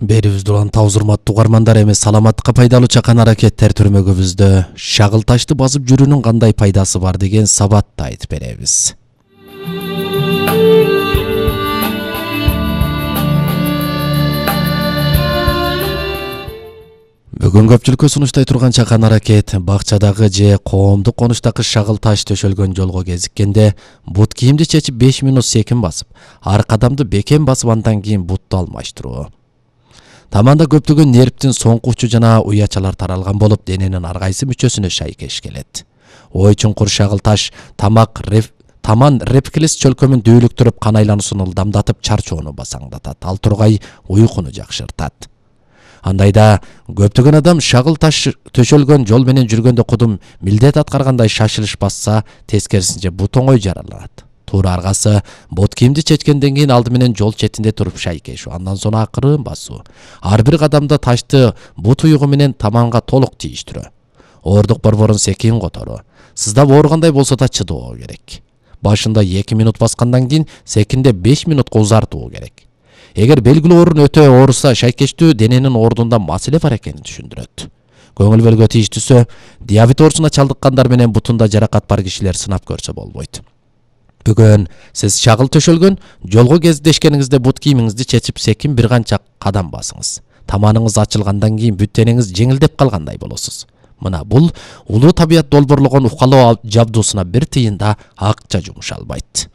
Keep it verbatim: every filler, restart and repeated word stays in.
Берибизде улан табыз урматтуу угармандар, эми саламаттыкка пайдалуу чакан аракеттер түрмөгүбүздө шагыл ташты басып жүрүүнүн кандай пайдасы бар деген сабатты айтып беребиз. Бүгүн көпчүлүккө сунуштай турган чакан аракет бакчадагы же коомдук конуштагы шагыл таш төшөлгөн жолго кезиккенде бут кийимди чечип беш мүнөт секин басып, ар кадамды бекем басып, андан кийин бутту алмаштыруу. Таманда көптөгөн нервдин соңку учу жана уячалар таралган болуп, дененин ар кайсы мүчөсүнө шайкеш келет. Ой чуңкур шагыл таш тамак реф таман рефлекс чөлкөмүн дүүлүктүрүп, кан айлануусун ылдамдатып, чарчоону басаңдатат, ал тургай уйкуну жакшыртат. Андайда көптөгөн адам шагыл таш төшөлгөн жол менен жүргөндө кудум милдет аткаргандай шашылыш басса, тескерисинче бут оңой жаралат. Туура аргасы бут кийимди чечкенден кийин алды менен жол четинде туруп шайкешүү, андан соң акырын басуу. Ар бир кадамда ташты бут уюгу менен таманга толук тийиштирүү. Оордук борборун секин которуу. Сыздап ооргандай болсо да чыдоо керек. Башында эки мүнөт баскандан кийин секинде беш мүнөткө узартуу керек. Эгер белгилүү орун өтө ооруса, шайкештүү дененин ордунда маселе бар экенин түшүндүрөт. Көңүл бөлгө тийиштүүсү, диабет оорусуна чалдыккандар менен бутунда жаракат бар кишилер сынап көрсө болбойт. Бүгүн сиз шагыл төшөлгөн жолго кездешкениңизде бут кийимиңизди чечип секин бир канча кадам басыңыз. Таманыңыз ачылгандан кийин бүт денеңиз жеңилдеп калгандай болосуз. Мына бул улуу табият долбоорлогон укалоо жабдуусуна бир тыйын да акча жумшалбайт.